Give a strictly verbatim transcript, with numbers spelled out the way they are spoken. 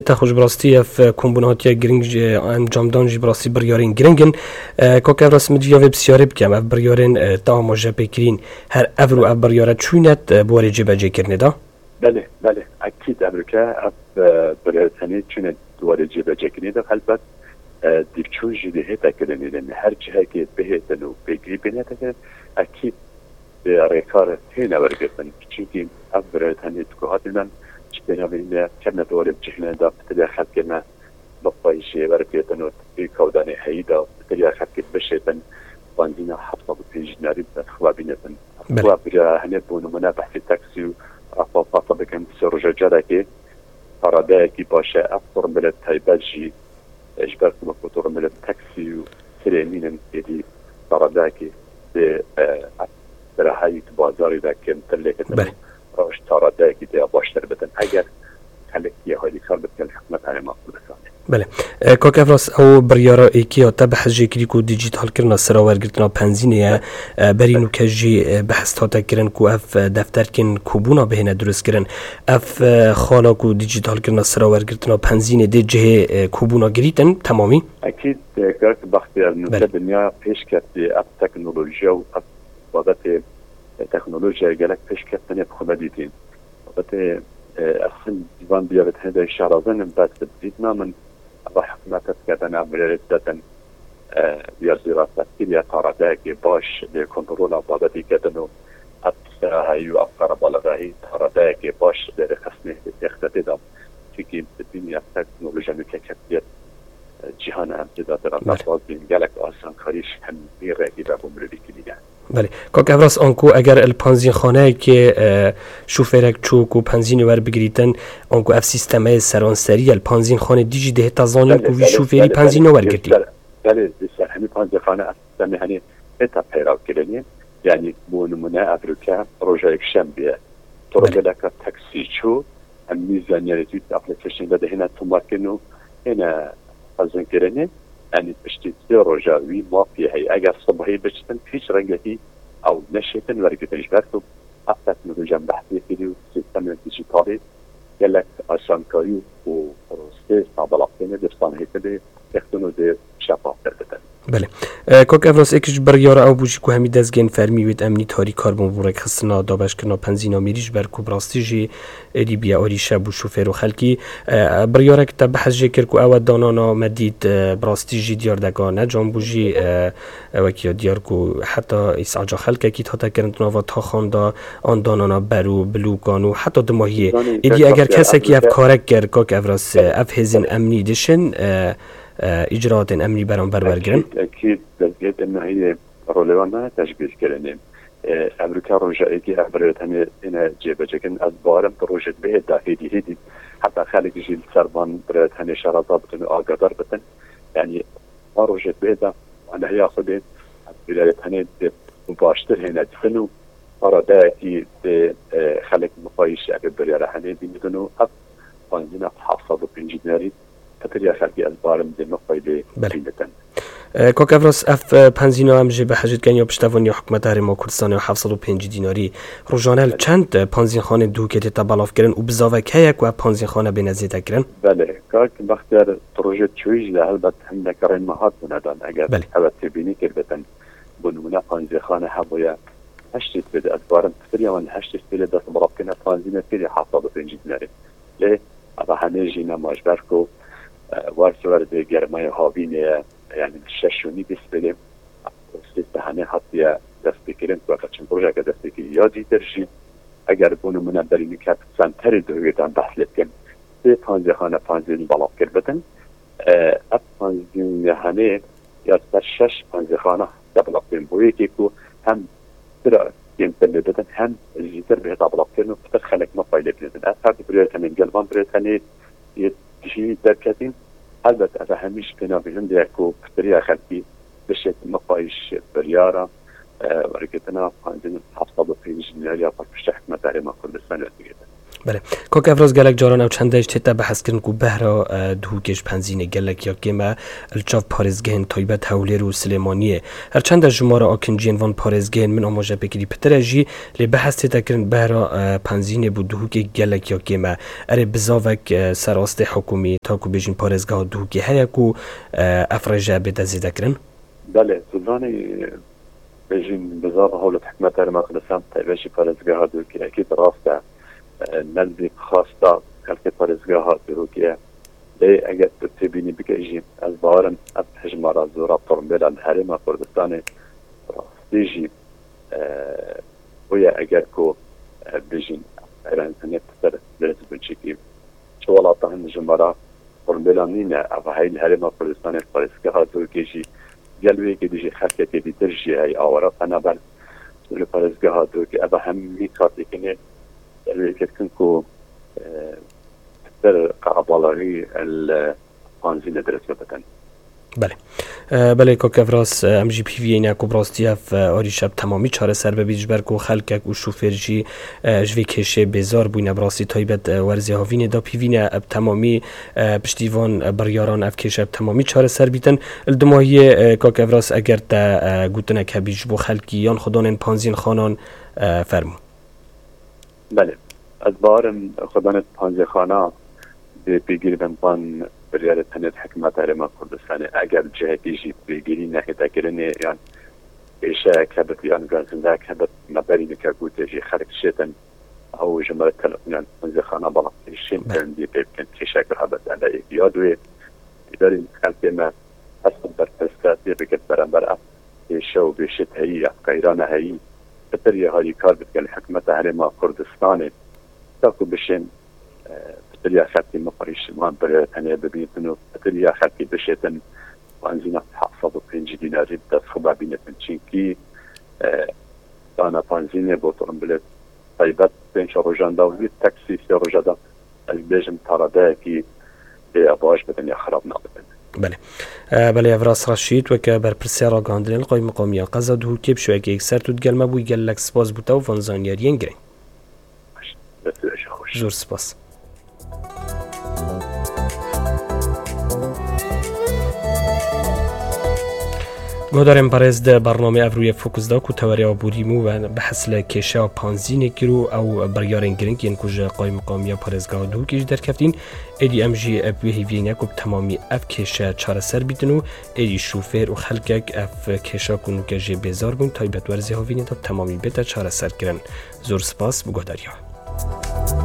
Te xweş, bi rastî ev, e, kombûna hatiye giring jî, e, encamdan jî bi rastî biryarên giring in. E, Kak Evras, min diviya vê pisyarê bikem, ev biryarên, e, te amaje pê kirîn, her evro ev biryare çûyne, e, bi warê cêbecêkirinê de? Belê, belê. Ekîd evroke ev, e, biryarê tenê çûne di warê cêbecêkirinê de, helbet, e, dîvçûn jî dê hête kirinê de. Her cihekê bihêtin û pêgirî pê nete kirin, ekîd dê rêkar têne wergirtin. Çimkî ev biryarê tenê di ku hatî me, ji pênavê hîne, kevne di warê cihine de, pitirya xelkê me bi xwe jê wergirtin û pêkawdanê heyî de, pitirya xelkê bişêtin, benzîna heft sed û pêncî dinarî bi xwe bînitin. Belê. Xwe bira hene bo nimûne behsê taksî û ev papa bikin, sê roja carekê, paradeyekî baş e. Ev formulê taybet jî, e, ji ber ku wek otomobilê taksî û tirê nînin, êdî taradeyekî dê, e, bi rehayî di bazarê de kêmtir lêketin. Belê. Roj taradeyekî dê baştir bitin. Eger xelk yê halîkar bikin, hikûmet herêma Kurdistanê. Belê. E, Kak Evras, ew biryara êkê ya te behs jê kirî ku dîjîtalkirina sira wergirtina penzînê ye. Belê. E, berî nûke jî, e, behs hate kirin ku ev, e, defterkên kobûna bihêne dirustkirin. Ev, e, xala ku dîjîtalkirina sira wergirtina penzînê dê cihê, e, kobûna girîtin temamî? Ekîd, e, kak Bextiyar, nûke Belê. dinya pêş ketiye ev teknolojiya û ev babetê, e, teknolojiya gelek pêş ketine bi xwe me dîtîn. Babetê, e, esin van diyabet hede şarazin bes dît namin, eva hikûmet dikevin, em rê didin, e, ya zîra tefkîr ya taradeyekê baş lê kontrola babetê kedin û ev serahayî û ev qerebalixahî taradeyekê baş lê rêxistinê yextetê da. Çimkî bi dinya teknolojiya nûke ketiye, e, cîhana em tê de Belê. rastbaz bîn, gelek asankarî ji hemî rengî ve bo mirovî kirîne. Belê. Kak Evras, anku eger li panzînxaneyekê, e, şofêrek çû ku penzînê werbigirîtin, anku ev sîstemeyê seranserî ye, li panzînxanê dî jî dihêta zanîn Belê, ku vî belê, şofêrî belê, penzîn belê. newergirtî. Belê, di ser hemî panzîxane ev sîstemê henê hêta peyrav kirinê. Yanî bo nimûne evroke roja yekşembiye Belê. otomobileka taksî çû, em nî zanyarî tî application de dihêne tomarkirin û hêne xezinkirinê. Yanî piştî sê roja wî mafê heye. Eger sibehî biçitin, hîç rengekî ew neşêtin wergitin, ji ber ku ev teknolojiya em behsê kirî û sîstemên dîjîtalî gelek asankarî û prosesê belav têne, dê bi sanhêtirê yextin û dê şefaftir bitin. Belê. E, Kak Evras, êk ji biryara ew bû jî ku hemî dezgehên fermî wêt emnî tarî karbon bo rêkxistina dabeşkirina penzîna mêrî, ji ber ku bi rastî jî êdî biye arîşe bo şofêr û xelkî. E, biryarek te behs jê kir ku ew e danana me dît, e, bi rastî jî diyar deka ne can bû jî, e, e, wekî ya diyar ku heta îsaca xelkekî hate kirin di nava taxan de, an danana ber û bilûkan û heta dumahiyê. Zanî, Êdî kek eger Bextiyar, kesekî ev evroke karek kir, Kak Evras, e, ev hêzên Belê. emnî dişin, e, e, îcraatên emnî beramber wergirin? Ekîd, ekîd, dezgehê te nahiyê rolê wan nayê tecbîr kirinê. E, evroke roja êkê ev birêt hene têne cêbecêkirin. Ez bawerim tu rojê dibê hêt da hêdî hêdî heta xelk jî li ser van birêt hene şaraza bikin û agadar bikin. Yanî van rojê dibê da anihiya xwe dê ev birêt hene dê bi baştir hêne dixin û para dayekî dê, e, xelk mixayîş ev biryara hene bînitin û ev panzîna heft sed û pêncî dinarî Pitir ya xelkê ez barim dê mixwey dê Belê. bînitin. E, Kak Evras, ev, e, penzîna em jê behecî dikin ya piştevaniya hikûmeta Herêma Kurdistanê ya heft sed û pêncî dînarî rojane li Belê. çend, e, panzînxanên dûkê tête belavkirin û bizavek heye ku ev panzînxane bêne zêdekirin? Belê, kak Bextiyar, tu rojê çûyî jî de helbet hindek rên me hat bûne dan. Eger Belê. ew têbînî kirbitin, bo nimûne panzînxane hebûye heştê sibê de, ez barim pitir ya wan heştê sibê de dest belavkirine panzîne pêrê heft sed û pêncî dînarê. Lê eva hemê jî nema ji ber ku, e, wer ji wer dê germayê havînê ye, yanî di şeş û nîvê sibê de sê sehemê hatiye destpêkirin, ku ev çend rojeke destpêkirî ya dîtir jî, eger bo nimûne berî nîket senterê dihêtan behs lê bikin, sê panzêxane panzên belav kir bitin, e, ev panzêxane ya ser şeş panzêxane de belav kirin. Bo yekê ku hem pira kêmtir lê didin, hem zîtir bihêta belavkirin û pitir xelek me pay lê bidin. Ev her du birêt tenê, gel van birêt tenê yê tijî derketîn. Helbet ev hemî ji pênavê hindê ye ku pitiriya xelkî bişêt me payîş biryara, e, wergirtina panzdeh heft sed û pêncî milyar ya paqij hikûmeta Herêma Kurdistanê digihîtin. Belê. Kak Evraz, gelek caran ew çende jî tête behs kirin ku behra, e, Duhokê ji penzînê gelek ya kêm e, li çav parêzgehên taybet Hewlêr û Silêmaniyê. Her çende jimara akinciyên van parêzgehên min amaje pêkirî pitir e jî, lê behs tête kirin behra, e, penzînê bo Duhokê gelek ya kêm e. Erê bizavek, e, ser astê hikûmî, ta ku bêjin parêzgeha Duhokê heye ku, e, ev rêje bête zêde kirin? Belê, tu zanî, bêjin bizava hewlet hikûmeta Herêma Kurdistan, taybet jî parêzgeha Duhokê, ekîd rast e. E, nezdîk xwesta xelkê parêzgeha Duhokê ye. Lê eger tu têbînî bike jî, ez bawer im ev hejmara zora tombêla li Herêma Kurdistanê rastî jî, e, bûye eger ku, e, bêjin, eran tenê pitir lez bûn çikî. Çi welata hin jimara tombêla nîne, ev hey li Herêma Kurdistanê parêzgeha Duhokê jî gel wê yekê dijî xelkekê dîtir jî hey awara penaber li parêzgeha Duhokê. Ev hemî kartêkinê gel wê yekê dikin ku, e, pitir qerebalixî li panzînê dirêj bidin. Belê. E, belê, Kak Evras, e, em jî pîviyê ne ku bi rastî ev, e, arîşe bi temamî çareser bibît, ji ber ku xelkek û şofêr jî, e, ji vê kêşê bêzar bûyne, bi rastî taybet, e, werzê havînê de pîvî ne, e, bi temamî, e, piştî van, e, biryaran ev kêşe bi temamî çareser bîtin. Li dimahiyê, e, Kak Evras, eger te, e, gotinek hebî ji bo xelkî yan xwedanên panzînxanan, e, fermû. Belê. Ez bawer im xwedanê panzêxana dê pêgîr bin van biryarê tenê di hikûmeta Herêma Kurdistanê. Eger cihekî jî pêgîrî nehête kirinê yan kêşeyek hebit yan gazindeyek hebit, me berî nike gotiye jî xelk şêtin ew ji me re telefonan panzêxana, bala pêşên Belê. Tendî pê bikin kêşek hebit. Em ê yad wê îdarên xelkê me hesab berpirsiyatiyê bikin berember ev kêşe û bêşet heyî ya qeyrana heyî, pitir ya harîkar bidike li hikûmeta Herêma Kurdistanê, ta ku bişên, e, pitir ya xelkê mixwî ji wan birê tenê bibîtin û pitir ya xelkê bişêtin, benzîna heft sed û pêncî dînarî bi dest xwe bibînitin. Çinkî, e, dana benzînê bo otomobilê taybet pênc rojan da û wî taksî sê roja da, ez bêjim taradeyekî pê ya baş bidin ya xirab nabidin. Belê. E, belê, Evras Reşîd, weke berpirsiyar ragihandinê li Qaymeqamiya Qeza Duhokê bi şêwekê yekser tu digel me bûyî, gelek spas bo te û van zanyariyên girîng. Baş. Dest û rêje xweş. Zor spas. Guhdarên berêz, di bernamê Evrûyê Fokus de ku tewerê aborî bû ve behs li kêşeya panzînê kir û ew biryarên girîng yên ku ji Qaymeqamiya Parêzgeha Duhokê jî derkeftin, êdî em jî bi wê hêviyê ne ku bi temamî ev kêşe çareser bîtin û êdî şofêr û xelkek ev kêşa ku nûke jê bêzar bûn, taybet werzê havînê de bi temamî bête çareserkirin. Zor spas bo guhdariya.